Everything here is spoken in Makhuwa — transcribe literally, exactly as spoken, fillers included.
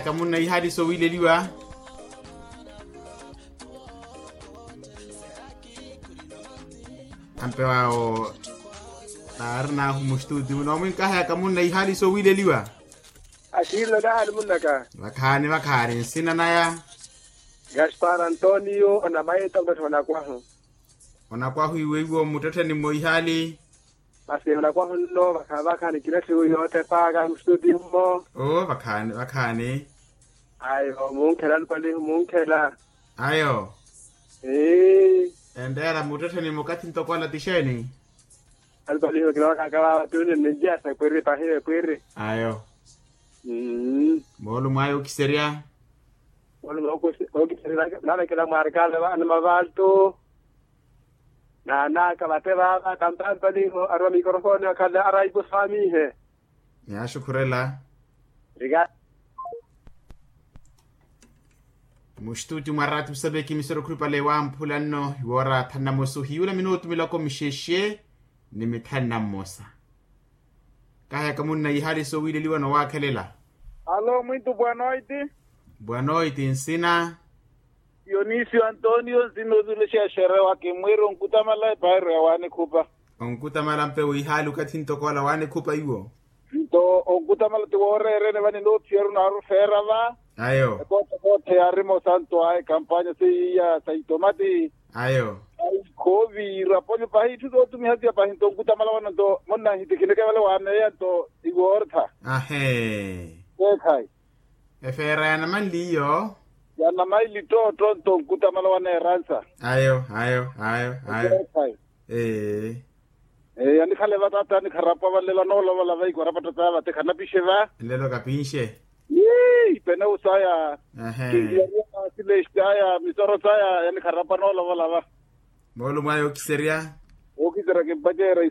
Kamunna ihali sowileliwa. Ampe wawo naari nahu mustuti muno mwinkaha ya kamunna ihali sowileliwa. Akillo nahali munnaka. Vakhaani vakhaani nsina naya. Gaspar antonio onamaita mutotho onakwahu. Onakwahu iwe iwo muttettheni mmo ihali. Masi onakwahu nno vakhavakha ni kilathi wi yoottepaka mustutiyo mmo. Oo vakhaani vakhaani. Ayo munkhela alupalihu munkhela. Ayo. Entteela muttettheni mukatthi ntoko ala tixeeni? Alupalihu kinawakaka vava tuni ninjiyasa epwiri pahiya epwiri. Ayo. Moolumo aya okiserya. Moolumo okiserya nalekela mwarikale vaana mavaltu. Naanaka vate vaava kampalipaliho arwa mikorofoni akhala araipusaamihe. Nyaxukhurela. Muxtuti mwa ratu saveki misoro khuripale wamphula nno iwoora thanu na mosa ohiyula minutu miloko mixexe ni mithanu na mmosa. Kahayaka munna ihali sowileliwa nowakhelela. Alo mwintu bwanoiti. Bwanoiti nsina. Dionisio antonio nsina ozulexa exerewa kimwiiri onkutamala epairo ya wanikhupa. Onkutamala mpe wihaali okathi ntoko ala wanikhupa iwo. Nto onkutamala ti wooreerene vani noophiyeru naarufeera va. Ayo. Ekootthe yaarima osanto aye kampanya seiya sa itomati. Ayo. Khooviira ponyo pahi itthu sootumiha siya pahi nto onkutamala vano nto monnanhitikhineke vale waameya nto iwoortha. Ahee. Eekhayi. Efeera ya namanli iyo. Ya namanli ttootto nto onkutamala waneeransa. Ayo ayo ayo ayo. Ee. Ee yanikhala evataata yanikharapwa vanlela noolovola vaiko arapatta taya vate khanapixe va. Nlelo kapinxe. Ii peneu saya. Kinliyariya silexi saya misoro saya yanikharapwa noolovola va. Moolumo aya okiserya. Okiserya kimpacerya.